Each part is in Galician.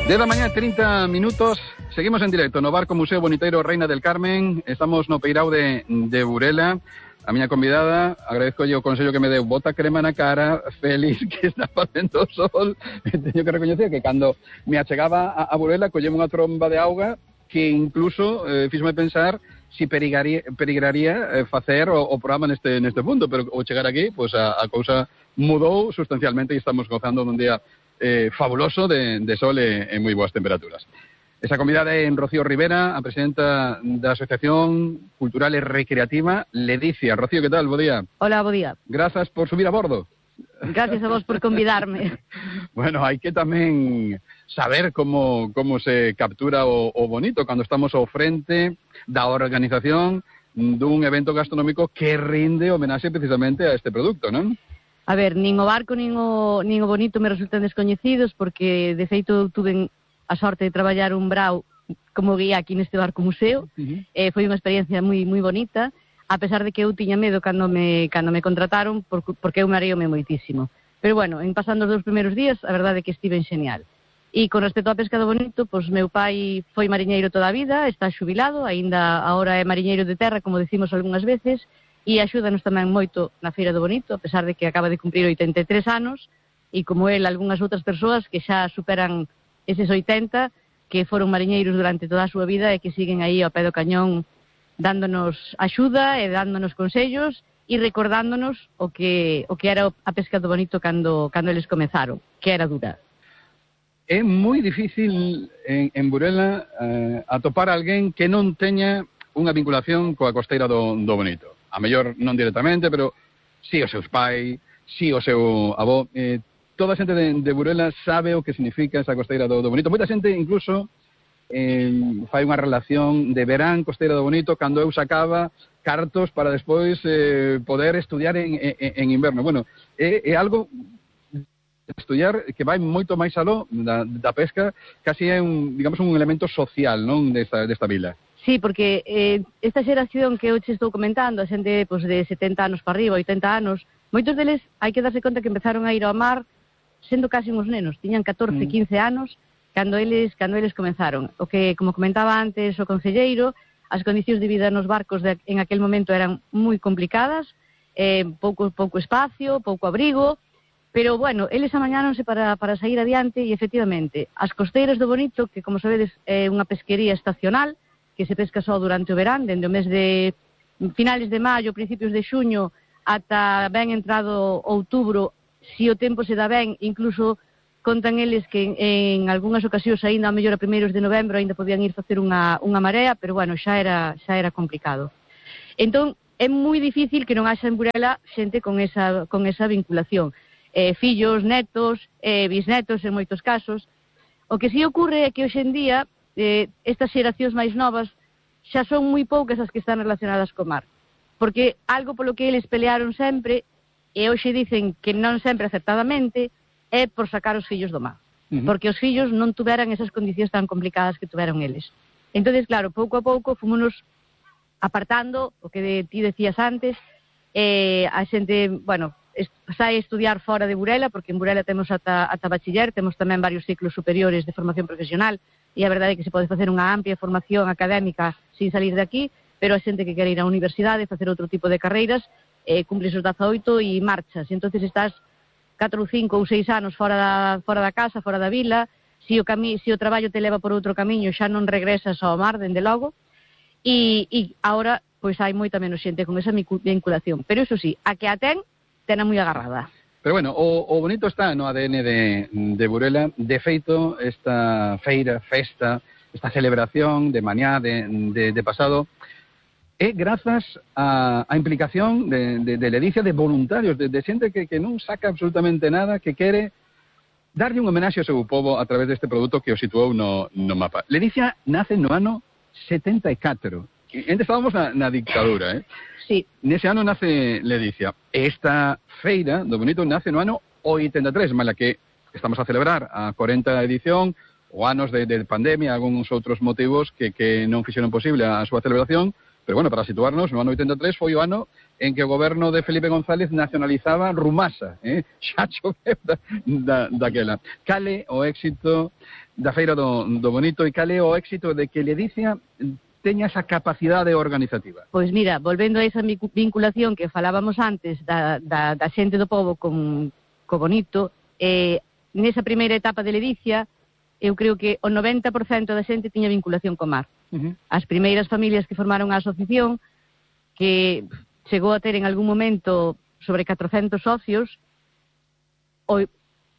10 da mañá, 30 minutos. Seguimos en directo no Barco Museo Boniteiro Reina del Carmen. Estamos no Peirao de Burela. A miña convidada, agradezcolle o consello que me deu, bota crema na cara, Félix, que está facendo sol. Teño que recoñecer que cando me achegaba a Burela, colleme unha tromba de auga que incluso fíxome pensar si perigraría facer o programa neste punto, pero ao chegar aquí, pues a cousa mudou sustancialmente e estamos gozando dun día fabuloso de sol e moi boas temperaturas. Esa convidada é Rocío Rivera, a presidenta da Asociación Cultural e Recreativa Ledicia. Rocío, que tal? Bo día. Hola, bo día. Grazas por subir a bordo. Gracias a vos por convidarme. Bueno, hai que tamén saber como se captura o bonito cando estamos ao frente da organización dun evento gastronómico que rinde homenaxe precisamente a este producto, non? A ver, nin o barco nin o bonito me resultan descoñecidos porque, de feito, tuve a sorte de traballar un brao como guía aquí neste barco museo. Foi unha experiencia moi bonita, a pesar de que eu tiña medo cando me contrataron porque eu mareome moitísimo. Pero bueno, en pasando os 2 primeiros días, a verdade é que estiven xenial. E con respecto á pesca do bonito, pois meu pai foi mariñeiro toda a vida, está xubilado, aínda agora é mariñeiro de terra, como decimos algunhas veces, e axúdanos tamén moito na Feira do Bonito, a pesar de que acaba de cumprir 83 anos, e como el, algunhas outras persoas que xa superan eses 80, que foron mariñeiros durante toda a súa vida e que siguen aí ao pé do cañón dándonos axuda e dándonos consellos e recordándonos o que era a pesca do bonito cando eles comezaron, que era dura. É moi difícil en Burela atopar alguén que non teña unha vinculación coa costeira do bonito. A mellor non directamente, pero si os seus pais, si o seu avó. Toda a xente de Burela sabe o que significa esa costeira do bonito. Moita xente incluso fai unha relación de verán costeira do bonito cando eu sacaba cartos para despois poder estudiar en inverno. Bueno, é algo de estudiar que vai moito máis aló da pesca, casi é un elemento social, non, desta vila. Sí, porque esta xeración que eu che estou comentando, a xente pues, de 70 anos para arriba, 80 anos, moitos deles hai que darse conta que empezaron a ir ao mar sendo casi uns nenos, tiñan 14, 15 anos cando eles comenzaron. O que, como comentaba antes o concelleiro, as condicións de vida nos barcos en aquel momento eran moi complicadas, pouco espacio, pouco abrigo, pero, bueno, eles amañáronse para sair adiante e, efectivamente, as costeiras do Bonito, que, como sabedes, é unha pesquería estacional, que se pesca só durante o verán, dende o mes de finales de maio, principios de xuño, ata ben entrado outubro. Si o tempo se dá ben, incluso contan eles que en algunhas ocasións aínda a mellor a primeiros de novembro aínda podían ir facer unha marea, pero bueno, xa era complicado. Entón, é moi difícil que non haxa en Burela xente con esa vinculación. Fillos, netos, bisnetos en moitos casos. O que si ocurre é que hoxe en día estas xeracións máis novas xa son moi poucas as que están relacionadas co mar. Porque algo polo que eles pelearon sempre, e hoxe dicen que non sempre acertadamente, é por sacar os fillos do mar. Porque os fillos non tuveran esas condicións tan complicadas que tuveron eles. Entón, claro, pouco a pouco fomos apartando o que ti decías antes, a xente, bueno, sai a estudiar fora de Burela, porque en Burela temos ata bachiller, temos tamén varios ciclos superiores de formación profesional, e a verdade é que se pode facer unha amplia formación académica sin salir de aquí, pero a xente que quere ir á universidade, facer outro tipo de carreiras, cumples os 18 e marchas. Entón estás 4 ou 5 ou 6 anos fora da casa, fora da vila. Se o traballo te leva por outro camiño, xa non regresas ao mar, dende logo. E agora, pois hai moita menos xente con esa vinculación. Pero iso sí, a que a ten moi agarrada. Pero bueno, o bonito está no ADN de Burela. De feito, esta festa, esta celebración de mañá, de pasado, é grazas á implicación de Ledicia, de voluntarios, de xente que non saca absolutamente nada, que quere darlle un homenaxe ao seu povo a través deste produto que o situou no mapa. Ledicia nace no ano 74. Antes estábamos na dictadura, Sí. Nese ano nace Ledicia. Esta feira do bonito nace no ano 83, mala que estamos a celebrar a 40 edición, o anos de pandemia, algúns outros motivos que non fixeron posible a súa celebración. Pero bueno, para situarnos, no ano 83 foi o ano en que o goberno de Felipe González nacionalizaba Rumasa, xa choveu daquela. Cale o éxito da Feira do Bonito e cale o éxito de que Ledicia teña esa capacidade organizativa? Pois mira, volvendo a esa vinculación que falábamos antes da xente do pobo co Bonito, nesa primeira etapa de Ledicia, eu creo que o 90% da xente tiña vinculación co mar. As primeiras familias que formaron a asociación, que chegou a ter en algún momento sobre 400 socios, o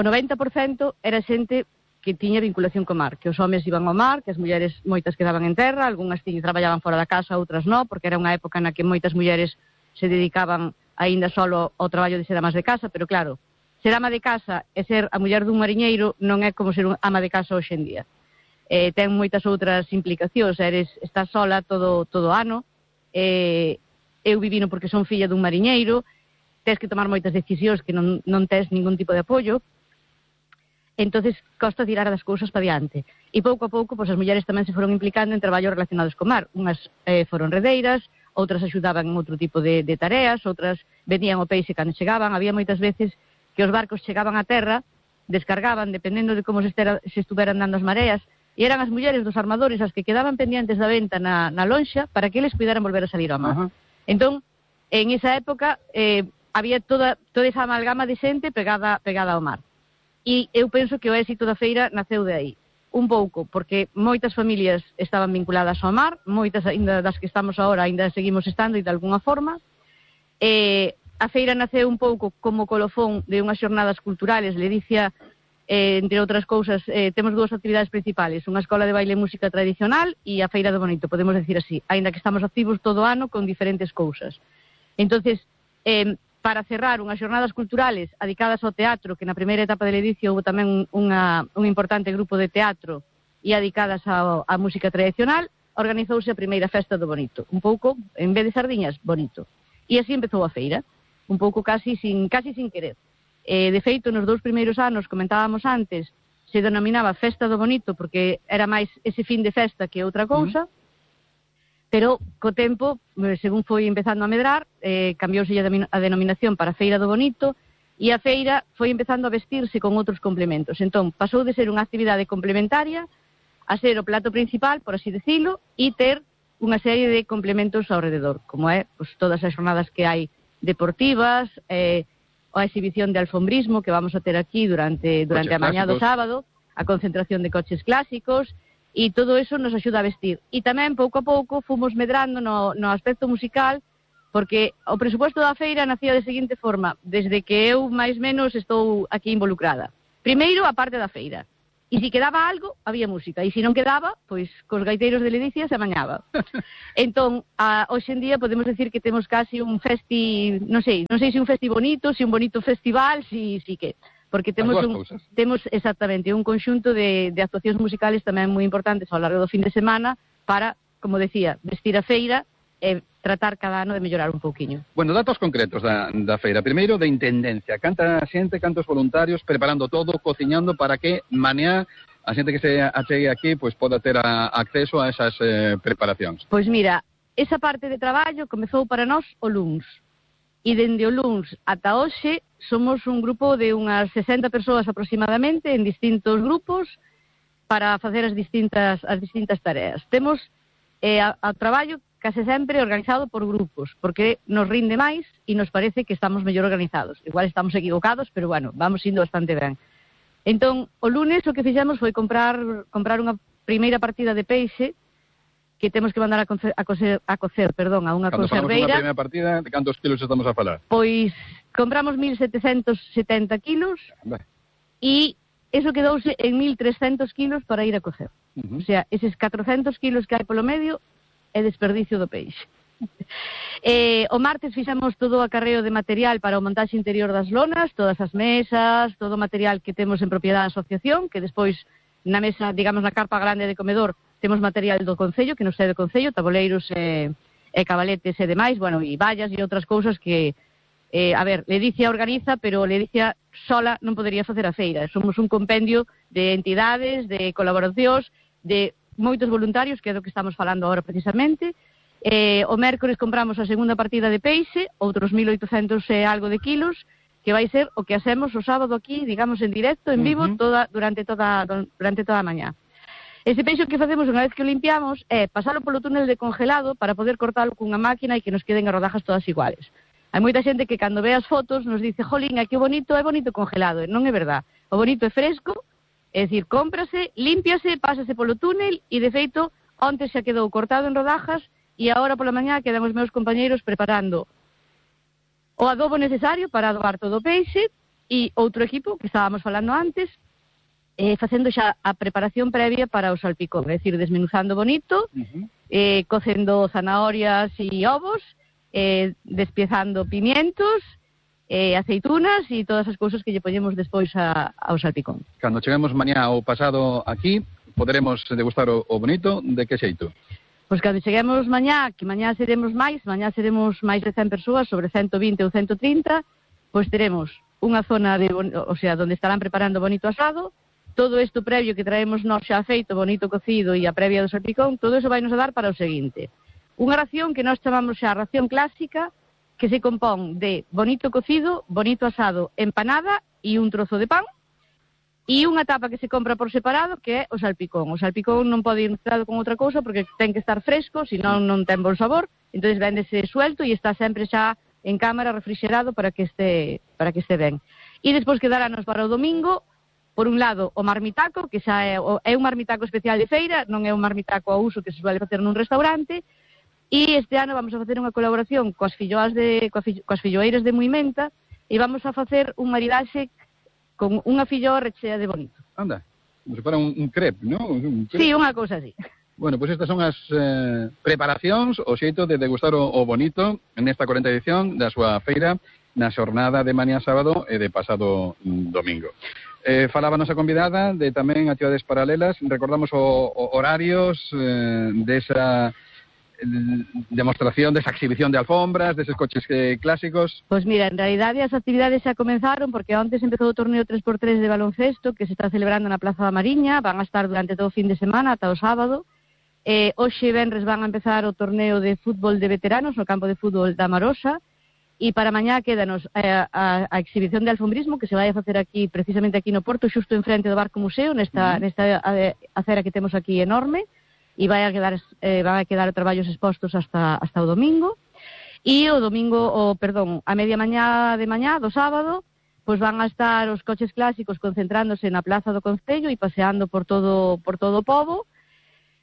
90% era xente que tiña vinculación co mar, que os homes iban ao mar, que as mulleres moitas quedaban en terra, algunhas traballaban fora da casa, outras non, porque era unha época na que moitas mulleres se dedicaban aínda solo ao traballo de ser amas de casa, pero claro, ser ama de casa e ser a muller dun mariñeiro non é como ser ama de casa hoxe en día. Ten moitas outras implicacións, estás sola todo o ano, eu vivino porque son filla dun mariñeiro, tens que tomar moitas decisións que non tes ningún tipo de apoio, entonces costa tirar das cousas para diante. E pouco a pouco, as mulleres tamén se foron implicando en traballos relacionados co mar. Unhas foron redeiras, outras axudaban en outro tipo de tareas, outras vendían o peixe cando chegaban. Había moitas veces que os barcos chegaban a terra, descargaban, dependendo de como se estuveran dando as mareas, e eran as mulleres dos armadores as que quedaban pendientes da venta na lonxa para que eles puderan volver a salir ao mar. Entón, en esa época había toda esa amalgama de xente pegada ao mar. E eu penso que o éxito da feira naceu de aí. Un pouco, porque moitas familias estaban vinculadas ao mar, moitas ainda das que estamos agora ainda seguimos estando e de alguna forma. A feira naceu un pouco como colofón de unhas xornadas culturales. Ledicia, entre outras cousas, temos dúas actividades principales, unha escola de baile e música tradicional e a Feira do Bonito, podemos decir así, aínda que estamos activos todo o ano con diferentes cousas. Entonces, para cerrar unhas xornadas culturales adicadas ao teatro, que na primeira etapa de Ledicia houve tamén un importante grupo de teatro e adicadas á música tradicional, organizouse a primeira festa do Bonito, un pouco, en vez de sardiñas, bonito. E así empezou a feira, un pouco casi sin querer. De feito, nos 2 primeiros anos, comentábamos antes, se denominaba Festa do Bonito porque era máis ese fin de festa que outra cousa, pero co tempo, según foi empezando a medrar, cambiouse a denominación para Feira do Bonito e a feira foi empezando a vestirse con outros complementos. Entón, pasou de ser unha actividade complementaria a ser o plato principal, por así decirlo, e ter unha serie de complementos ao rededor, como é todas as jornadas que hai deportivas, a exhibición de alfombrismo que vamos a ter aquí durante a mañá do sábado, a concentración de coches clásicos, e todo eso nos axuda a vestir. E tamén, pouco a pouco, fomos medrando no aspecto musical, porque o presupuesto da feira nacía de seguinte forma, desde que eu, máis menos, estou aquí involucrada. Primeiro, a parte da feira. E se quedaba algo, había música. E se non quedaba, pois, cos gaiteiros de Ledicia se amañaba. Entón, hoxe en día podemos decir que temos casi un festi, non sei se un festi bonito, se un bonito festival, si que... Porque temos exactamente un conxunto de actuacións musicales tamén moi importantes ao largo do fin de semana para, como decía, vestir a feira e tratar cada ano de mellorar un pouquiño. Bueno, datos concretos da feira. Primeiro, de intendencia. Canta xente, cantos voluntarios, preparando todo, cociñando para que mañá a xente que se achegue aquí pois poda ter acceso a esas preparacións. Pois mira, esa parte de traballo comezou para nós o luns. E dende o luns ata hoxe somos un grupo de unhas 60 persoas aproximadamente en distintos grupos para facer as distintas tareas. Temos o traballo case sempre organizado por grupos, porque nos rinde máis e nos parece que estamos mellor organizados. Igual estamos equivocados, pero bueno, vamos indo bastante ben. Entón, o lunes o que fixemos foi comprar unha primeira partida de peixe que temos que mandar a cocer, a unha conserveira. Cando falamos unha primeira partida, de cantos kilos estamos a falar? Pois compramos 1.770 kilos e eso quedouse en 1.300 kilos para ir a cocer. O sea, eses 400 kilos que hai polo medio é desperdicio do peixe. O martes fixemos todo o acarreo de material para o montaxe interior das lonas, todas as mesas, todo o material que temos en propiedade da asociación, que despois na mesa, digamos na carpa grande de comedor, temos material do Concello, que nos é do Concello, taboleiros e cabaletes e demais, bueno, e vallas e outras cousas que, Ledicia organiza, pero Ledicia sola non podería facer a feira. Somos un compendio de entidades, de colaboracións, de moitos voluntarios, que é do que estamos falando agora precisamente, O mércores compramos a segunda partida de peixe, outros 1.800 e algo de kilos, que vai ser o que hacemos o sábado aquí, digamos, en directo, en vivo, durante toda a mañá. Ese peixe que facemos unha vez que o limpiamos é pasalo polo túnel de congelado para poder cortalo cunha máquina e que nos queden as rodajas todas iguales. Hai moita xente que cando ve as fotos nos dice, jolín, que bonito, é bonito congelado. Non é verdad. O bonito é fresco, é dicir, cómprase, límpiase, pásase polo túnel e, de feito, onte xa quedou cortado en rodajas e agora pola mañá quedan os meus compañeiros preparando o adobo necesario para adobar todo o peixe e outro equipo, que estábamos falando antes, facendo xa a preparación previa para o salpicón, é dicir, desmenuzando bonito, cocendo zanahorias e ovos, despiezando pimientos, aceitunas e todas as cousas que lle poñemos despois ao salpicón. Cando cheguemos mañá ou pasado aquí, poderemos degustar o bonito, de que xeito? Pois cando cheguemos mañá, que mañá seremos máis de 100 persoas, sobre 120 ou 130, pois teremos unha zona onde estarán preparando bonito asado, todo isto previo que traemos nós xa feito, bonito cocido e a previa do salpicón, todo iso vai nos dar para o seguinte. Unha ración que nós chamamos xa ración clásica, que se compón de bonito cocido, bonito asado, empanada e un trozo de pan, e unha tapa que se compra por separado, que é o salpicón. O salpicón non pode ir mezclado con outra cousa porque ten que estar fresco, senón non ten bon sabor, entonces véndese suelto e está sempre xa en cámara refrigerado para que este ben. E despois quedarános para o domingo, por un lado, o marmitaco, que xa é un marmitaco especial de feira, non é un marmitaco a uso que se suele facer nun restaurante, e este ano vamos a facer unha colaboración coas filloeiras de Muimenta e vamos a facer un maridaxe con unha filloa rechea de bonito. Anda, como se para un crepe, non? Sí, unha cousa así. Bueno, pois estas son as preparacións, o xeito de degustar o bonito nesta 40ª edición da súa feira na xornada de mañá sábado e de pasado domingo. Falaba a nosa convidada de tamén actividades paralelas, recordamos horarios desa demostración, desa exhibición de alfombras, deses coches clásicos. Pois mira, en realidade as actividades xa comenzaron porque antes empezou o torneo 3x3 de baloncesto que se está celebrando na Plaza da Mariña, van a estar durante todo o fin de semana ata o sábado. Hoxe venres van a empezar o torneo de fútbol de veteranos no campo de fútbol da Marosa. E para mañá quédanos a exhibición de alfombrismo que se vai a facer aquí, precisamente aquí no Porto, xusto enfrente do Barco Museo, nesta acera que temos aquí enorme, e van a quedar traballos expostos hasta o domingo. E o domingo, a media mañá de mañá, do sábado, pois van a estar os coches clásicos concentrándose na Plaza do Concello e paseando por todo o pobo,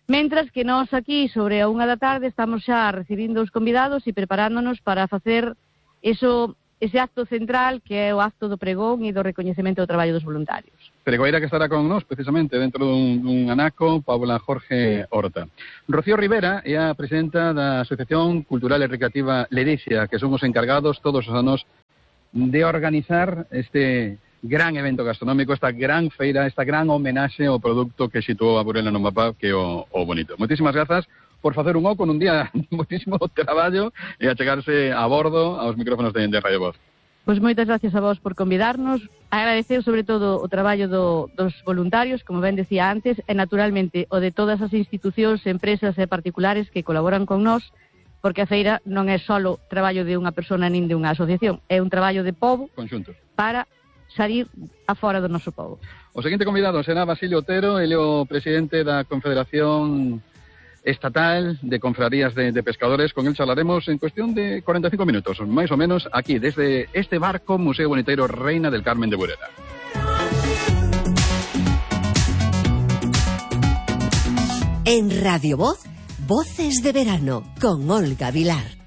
mentras que nós aquí, sobre a 1 da tarde, estamos xa recibindo os convidados e preparándonos para facer ese acto central que é o acto do pregón e do recoñecemento do traballo dos voluntarios. Pregoeira que estará con nós precisamente dentro dun anaco, Paula Jorge Horta. Rocío Rivera é a presidenta da Asociación Cultural e Recreativa Ledicia, que son os encargados todos os anos de organizar este gran evento gastronómico, esta gran feira, esta gran homenaxe ao produto que situou a Burela no mapa, que é o bonito. Moitísimas grazas por facer un oco nun día moitísimo traballo e achegarse a bordo aos micrófonos de Radio Voz. Pois moitas gracias a vos por convidarnos, agradecer sobre todo o traballo dos voluntarios, como ben decía antes, e naturalmente o de todas as institucións, empresas e particulares que colaboran con nós, porque a feira non é só traballo de unha persona nin de unha asociación, é un traballo de pobo conxunto para salir afora do noso pobo. O seguinte convidado será Basilio Otero, ele é o presidente da Confederación Estatal de Confrarías de Pescadores. Con él charlaremos en cuestión de 45 minutos, máis ou menos, aquí, desde este barco Museo Boniteiro Reina del Carmen de Burela. En Radio Voz, Voces de Verano, con Olga Vilar.